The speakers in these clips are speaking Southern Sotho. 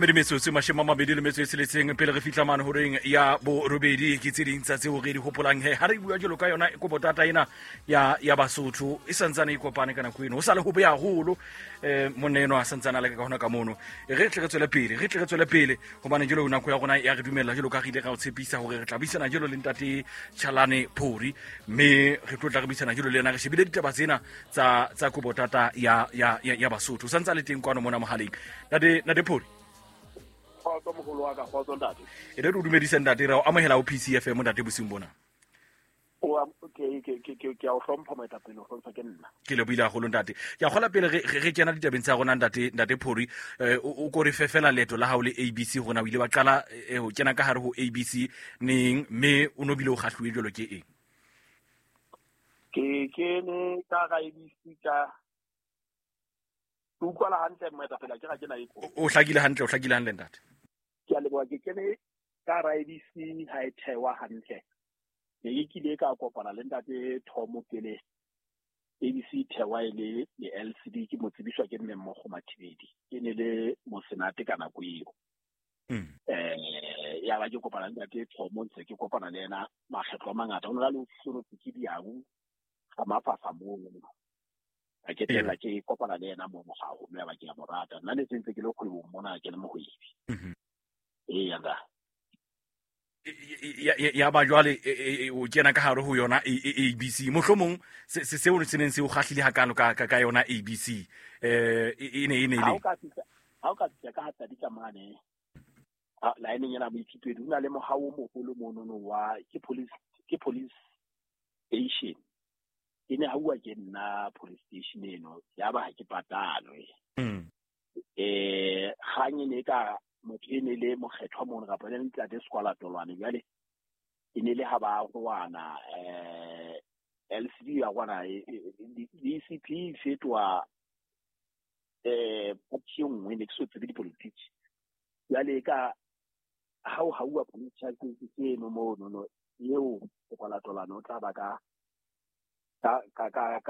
Mamedi metsotso e 26 pele re fihla mane horeng ya borobedi. Ke tse ding tsa tseo re di hopolang he ha re bua jalo ka yona kobotata ena ya Basotho e santsane e kopane ka nako eno. Ho sa le hobe haholo, monna eno a santsane a leka ka hona ka mono. Re tle re tswele pele, re tle re tswele pele, hobane jalo nako ya rona ya re dumella, jalo ka re ile ra o tshepisa hore re tla buisana jalo le ntate Chalane Phori, mme re tlo tla re buisana jalo le yena re shebile ditaba tsena tsa kobotata ya Basotho. O santse a le teng kwano mona mohaleng. Ntate Phori. Kgotso moholo wa ka, kgotso ntate. E re o dumedise ntate, re o amohela ho PCFM ntate bosiung bona. Ke a o hlompha moetapele, o hlompha ke nna. Ke lebohile haholo ntate. Ke a kgola pele re kena ditabeng tsa rona ntate Phori, o ko re fe fela leeto la hao le ABC hore na o ile wa qala ho kena ka hare ho ABC neng, mme o no bile o kgahluwe jwalo ke eng? Ke kene ka hara ABC ka ke utlwala hantle moetapele, ke ga ke na e ko. O hlakile hantle, o hlakile hantle ntate. Ke a leboha, ke kene ka hara ABC ha e thewa hantle. Ne ke kile ka kopana le ntate Thomo pele ABC thewa e le le LCD, ke mo tsebiswa ke mme Mmogo Mathibedi. Ke ne le mosenate ka nako eo. Ya ba ke kopana le ntate Thomo, ntse ke kopana le yena makgetlo a mangata. O ne a le ofising ke diau ga mafasa mono. Ka ketella ke kopana le yena mono haholo, ya ba ke a mo rata. Nna ne sentse ke le kgwebong mona, ke le mohwebi. Eya, nka. Ya ba jwale o kena ka hare ho yona ABC. Mohlomong seo se neng se o kgahlile hakalo ka yona ABC, e ne e ne le. Ha o ka fihla ka ha tsa mane, line ena moithutedi, ho na le mohao o moholo monono wa ke police station. E ne hauwa ke nna police station eno, ya ba ha ke patalwe. Kgang e ne ka motho e ne le mokgethwa mono kapa le ntate Sekwala Tolwane, jwale e ne le ha ba roana, LCD ya rwana, DCP e fetoha, party e nngwe, ne ke so tsebe dipolitiki. Jwale ka ha o hauwa police charges eno mono, no, eo Sekwala Tolwane o tla ba ka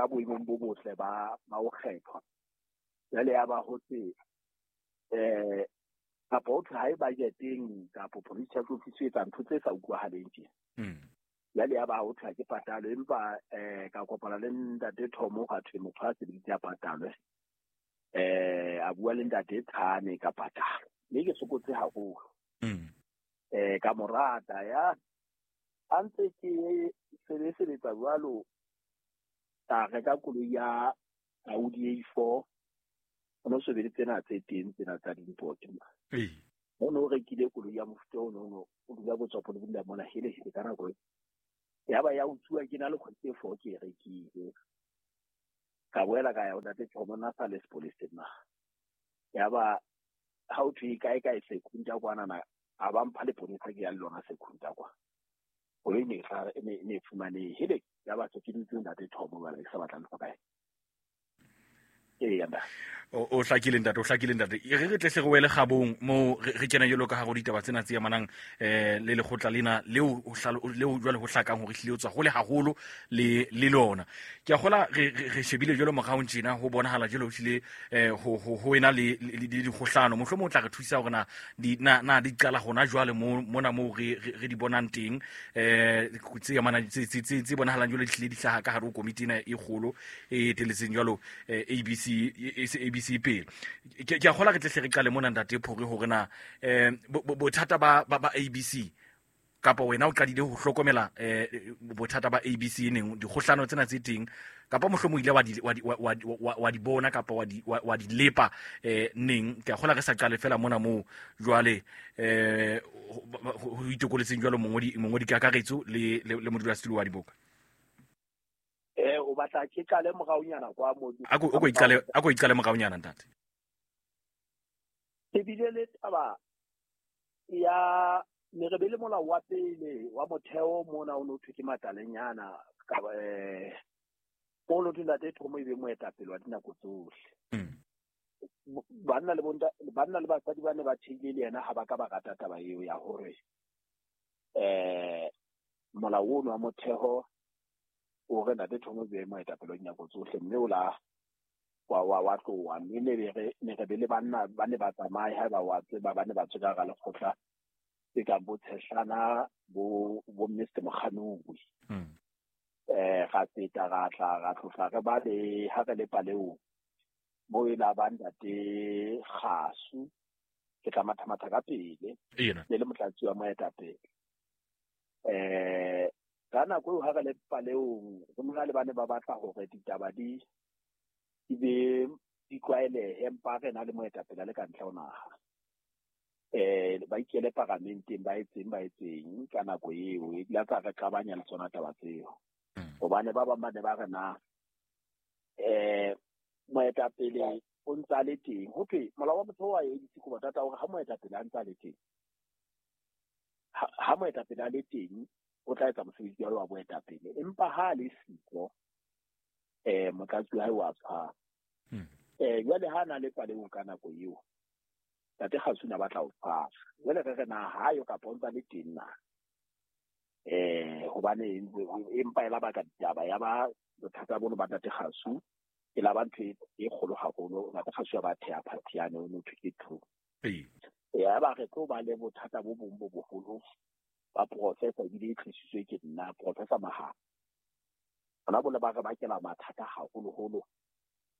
boemong bo botle ba ho kgethwa. Jwale ya ba ho tse, kapa ho thwe ha e budgeteng, kapa police charge office e etsa ntho tse sa utlwahaleng tje. Jwale ya ba ho thwe ha ke patalwe, empa ka kopana le ntate Thomo, ga thwe motho a sebeditse a patalwe. A bua le ntate Thane ka patalo. Mme ke sokotse haholo. Ka mo rata ya a ntse ke sebetsa jwalo, ka reka koloi ya Audi A4. O no sebeditse tsena tse teng tsena tsa di-import. O no rekile koloi ya mofuta o no o dula Botswapo le dula mona hele hele ka nako e. Ya ba ya utsuwa ke na le kgwedi tse 4 ke e rekile. Ka boela ka ya ho ntate Thomo, nna sa le sepoleseng na. Ya ba ha o thwe kae kae Sekhunta kwana na, a ba mpha leponesa ke ya le lona Sekhunta kwa. Koloi ne e fumanehe. Hele, ya ba se ke dutse ntate Thomo jwale ke sa batla ntho kae. O hlakile ntate, o hlakile ntate. E re tle hle re wele kgabong moo re kena jwalo ka hare ho ditaba tsena tse amanang le lekgotla lena leo leo jwale ho hlakang hore hlile o tswa hole haholo le lona. Ke a kgola re shebile jwalo moraong tjena, ho bonahala jwalo hlile ho ena le dikgohlano. Mohlomong o tla re thusa hore na di qala hona jwale mona moo re di bonang teng, tse amanang tse bonahalang jwalo di hlile di hlaha ka hare ho komiti ena e kgolo e eteletseng jwalo ABC, ABC pele. Ke a kgola re tle hle re qale mona ntate Phori hore na bothata ba ABC, kapa wena o qadile ho hlokomela bothata ba ABC neng, dikgohlano tsena tse teng, kapa mohlomong ile wa di bona kapa wa di lepa neng. Ke a kgola re sa qale fela mona moo jwale ho itokoletseng jwalo mongodi kakaretso le modulasetulo wa diboka. O batla ke qale moraonyana kwa mo. A ko iqale moraonyana ntate. E bile le taba ya ne re be le molao wa pele wa motheo mona o no thwe ke Matalenyana, ka o no thwe ntate Thomo e be moetapele wa dinako tsohle. Banna le banna le basadi ba ne ba theile le yena ha ba ka ba rata taba eo ya hore molao ono wa motheo o re ntate Thomo e be moetapele wa dinako tsohle, mme o wa tloha mme ne re be le banna ba ne ba tsamaye ha ba wa tseba ba ne ba tswe ka hara lekgotla tse kang bo Tshehlana bo Mr. Mokganui. Ra feta ra tla ra tlohla re ba le ha re le Paleong mo e la ba ntate Kgasu ke tla mathamatha ka pele le le motlatsi wa moetapele. Ka nako eo ha re le Paleong re mona le bane ba batla hore ditaba di be di tlwaelehe empa re na le moetapele le ka ntle ho naha. Ba ikele paramenteng ba etseng ka nako eo e la tsa re qabanya le tsona taba tseo. Hobane ba bang ba ne ba re na moetapele o ntsa le teng. Ho thwe molao wa motho wa ANC ko batata hore ha moetapele a ntsa le teng, ha moetapele a le teng o tla etsa mosebetsi wa boetapele, empa ha le siko motlatsi wa hae wa tshwara. Jwale ha na le Paleong ka nako eo Ntate Kgasu na batla ho tshwara. Jwale re na ha yo kapa o ntsa le teng na. Hobane empa e la baka ditaba ya ba bothata bono ba Ntate Kgasu e la ba ntho e kgolo haholo. Ntate Kgasu ya ba theha party yane o no thwe ke True. Ya ba re tlo ba le bothata bo bong bo boholo ba professor ebile e tlisitswe ke nna Professor Maha. Bona bo le ba re bakela mathata haholoholo.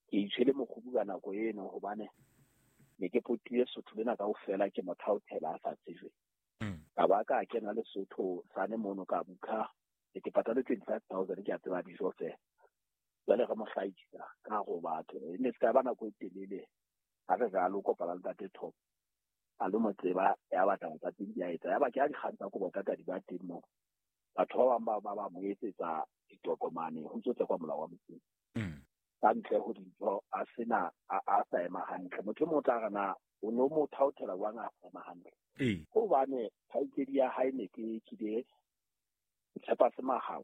Ke itshwele mokgubu ka nako eno hobane ne ke potile Sotho lena kaofela ke mo thaothela a sa tsejwe. Ka ba ka kena Lesotho sane mono ka bukha ke patale 25,000 ke a tseba dijo fela. Jwale re mo hlahisa ka ho batho. E ne se ka ba nako e telele ha re re a lo kopana le Ntate Top. A lo mo tseba ya batla tsa teng di a etsa. Ya ba ke a dikgang tsa kobo tata di ba teng moo. Batho ba bang ba mo etsetsa ditokomane ho ntso tsekwa molao wa motseng. Ka ntle ho dintho a sena a sa ema hantle. Motho e mong o tla re na o no mo thaothela jwang a sa ema hantle. Hobane kgaitsedi ya hae ne ke kile tshepa se mahao.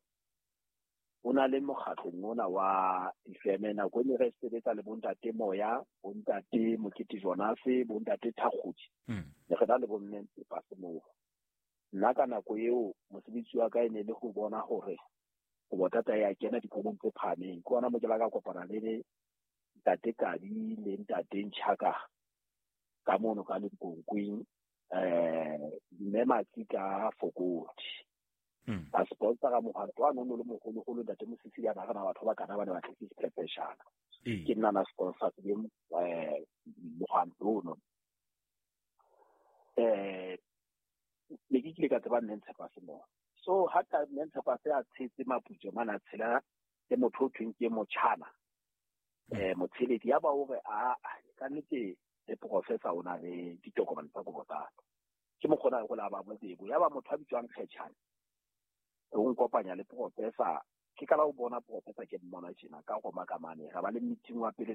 O na le mokgatlong ona wa difeme nako e ne re sebetsa le bontate Moya, bontate Mokete Jonase, bontate Thakgodi. Ne re na le bomme Ntshepa se moo. Nna ka nako eo mosebetsi wa ka e ne le ho bona hore ho botata ya kena dikolong tse phahameng. Ke hona mo ke la ka kopana le Ntate Kadi le Ntate Ntjhaka ka mono ka Limpokweng, mme Matsi ka Fokodi. Ba sponsora mohwanto wa nono le moholoholo Ntate Mosisi ya na rena batho ba kana ba ne ba tletse sephepeshana. Ke nna na sponsor le mohwanto ono. Ne ke kile ka tseba mme Ntshepa se moo. So ha ka mme Ntshepa se a tshetse maputso mana tshela le motho o thweng ke motjhana. Motsheledi ya ba hore a ka nnete le professor o na le ditokomane tsa kobo tsa. Ke mokgona go la ba bobebo. Ya ba motho a bitswang Kgetjhane. O nkopanya le professor. Ke kala o bona professor ke mmona tjena ka go makamane. Ra ba le meeting wa pele